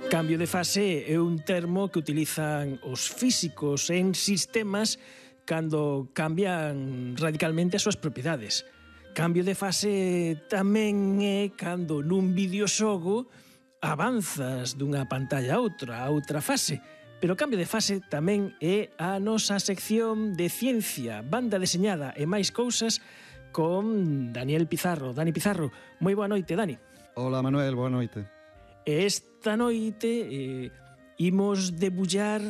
Cambio de fase é un termo que utilizan os físicos en sistemas cando cambian radicalmente as súas propiedades. Cambio de fase tamén é cando nun videoxogo avanzas dunha pantalla a outra fase. Pero o cambio de fase tamén é a nosa sección de ciencia, banda deseñada e máis cousas con Daniel Pizarro. Dani Pizarro, moi boa noite, Dani. Hola, Manuel, boa noite. Esta noite imos debullar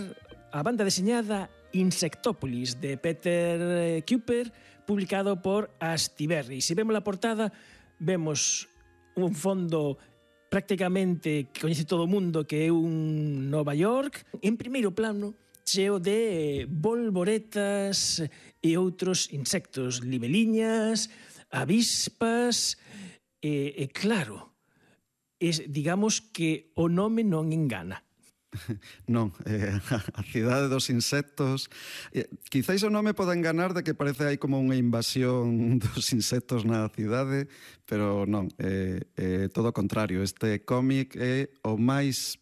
a banda deseñada Insectópolis de Peter Kuper, publicado por Astiberri. Se vemos a portada, vemos un fondo prácticamente que coñece todo o mundo, que é un Nova York, en primeiro plano, cheo de bolboretas e outros insectos, libeliñas, avispas, e claro, digamos que o nome non engana. Non, a cidade dos insectos, quizáis o nome pode enganar de que parece hai como unha invasión dos insectos na cidade, pero non, é todo o contrario. Este cómic é o máis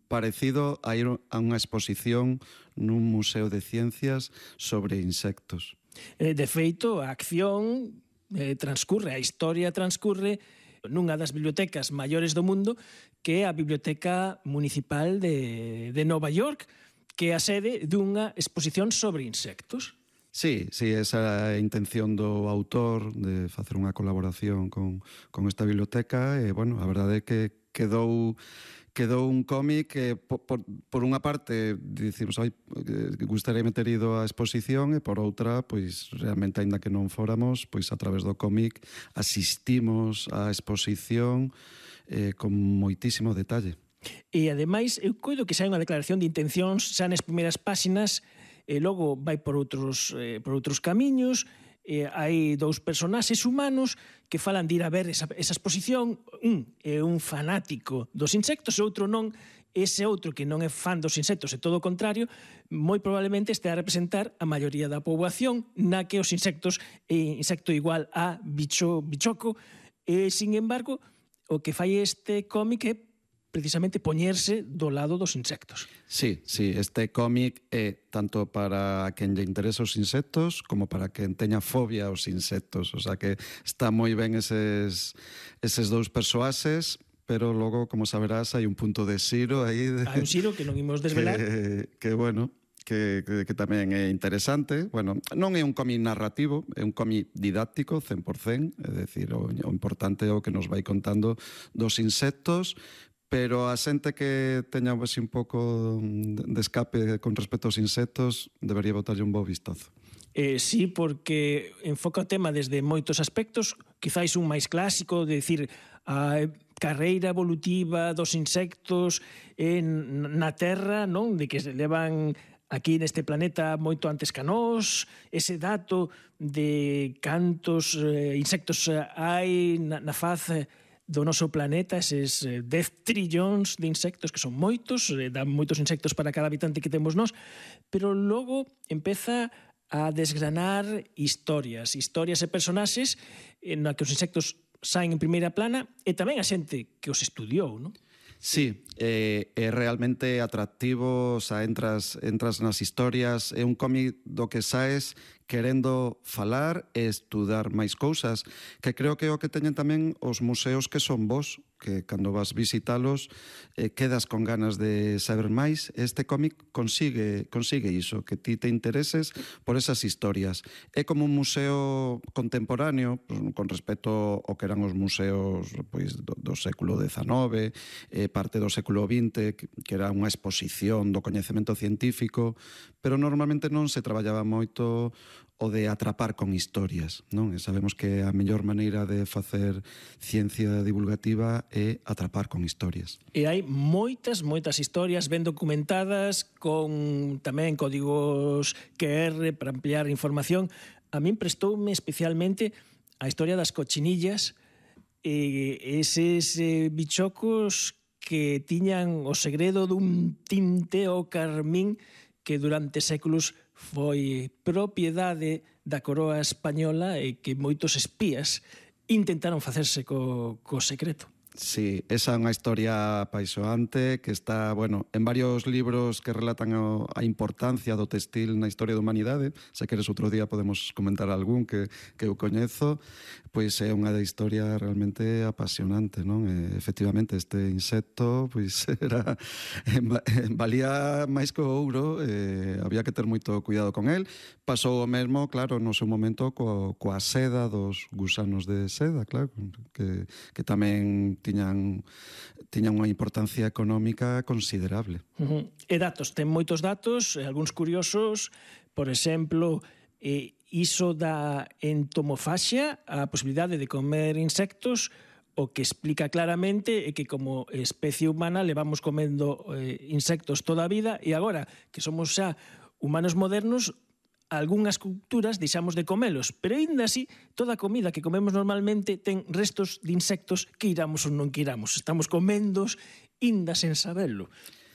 parecido a ir a unha exposición nun museo de ciencias sobre insectos. De feito, a acción transcurre, a historia transcurre nunha das bibliotecas maiores do mundo, que é a Biblioteca Municipal de Nova York, que é a sede dunha exposición sobre insectos. Sí, esa é a intención do autor de facer unha colaboración con esta biblioteca e, bueno, a verdade é que quedou un cómic que, por unha parte, dicimos, gustaría ter ido á exposición e, por outra, pois, realmente, aínda que non fóramos, pois, a través do cómic asistimos á exposición con moitísimo detalle. E, ademais, eu coido que xa hai unha declaración de intencións xa nas primeiras páxinas e logo vai por outros camiños. Hai dous personaxes humanos que falan de ir a ver esa exposición. Un é un fanático dos insectos e outro non. Ese outro que non é fan dos insectos e todo o contrario, moi probablemente este a representar a maioría da poboación na que os insectos é insecto igual a bichoco. Sin embargo, o que fai este cómic é precisamente poñerse do lado dos insectos. Sí, este cómic é tanto para quen lle interesa os insectos como para quen teña fobia aos insectos. O sea que está moi ben eses dous persoaxes, pero logo, como saberás, hai un punto de xiro aí. Hai un xiro que non imos desvelar. Que bueno, que tamén é interesante. Bueno, non é un cómic narrativo, é un cómic didáctico, 100%, é dicir, o importante é o que nos vai contando dos insectos, pero a xente que teña un pouco de escape con respecto aos insectos debería botarlle un bo vistazo. Sí, porque enfoca o tema desde moitos aspectos, quizáis un máis clásico, de dicir, a carreira evolutiva dos insectos na Terra, non? De que se levan aquí neste planeta moito antes que nós, ese dato de cantos insectos hai na faz do noso planeta, eses 10 trillóns de insectos, que son moitos, dan moitos insectos para cada habitante que temos nós, pero logo empeza a desgranar historias e personaxes na que os insectos saen en primeira plana e tamén a xente que os estudiou, non? Sí, é realmente atractivo, o sea, entras nas historias, é un cómic do que saes querendo falar e estudar máis cousas, que creo que é o que teñen tamén os museos que son vos, que cando vas visitalos quedas con ganas de saber máis. Este cómic consigue iso, que ti te intereses por esas historias. É como un museo contemporáneo, con respecto ao que eran os museos pois, do século XIX, parte do século XX, que era unha exposición do coñecemento científico, pero normalmente non se traballaba moito o de atrapar con historias, non? E sabemos que a mellor maneira de facer ciencia divulgativa é atrapar con historias. E hai moitas historias ben documentadas, con tamén códigos QR para ampliar información. A min prestoume especialmente a historia das cochinillas, eses bichocos que tiñan o segredo dun tinte ao carmín que durante séculos foi propiedade da coroa española e que moitos espías intentaron facerse co secreto. Sí, esa é unha historia apaixoante que está, bueno, en varios libros que relatan a importancia do textil na historia da humanidade. Se queres outro día podemos comentar algún que eu coñezo. Pois é unha historia realmente apasionante, non? Efectivamente, este insecto pois valía máis que o ouro, había que ter moito cuidado con el. Pasou o mesmo, claro, no seu momento coa seda dos gusanos de seda, claro, que tamén tiñan unha importancia económica considerable. E datos, ten moitos datos, algúns curiosos, por exemplo, iso da entomofaxia, a posibilidade de comer insectos, o que explica claramente é que como especie humana levamos comendo insectos toda a vida e agora que somos xa humanos modernos, algunhas culturas deixamos de comelos, pero aínda así toda a comida que comemos normalmente ten restos de insectos que iramos ou non que iramos. Estamos comendos aínda sen sabelo.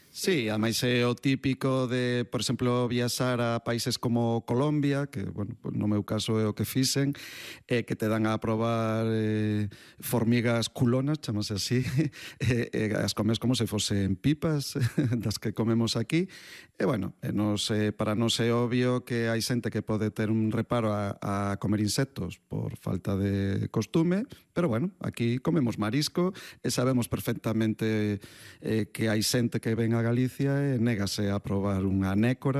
Sí, ademais é o típico de, por exemplo, viaxar a países como Colombia, que, bueno, no meu caso é o que fixen, que te dan a probar formigas culonas, chamase así, as comes como se fosen pipas das que comemos aquí. E, bueno, para nós é obvio que hai xente que pode ter un reparo a comer insectos por falta de costume, pero, bueno, aquí comemos marisco e sabemos perfectamente que hai xente que ven a Galicia e négase a probar unha nécora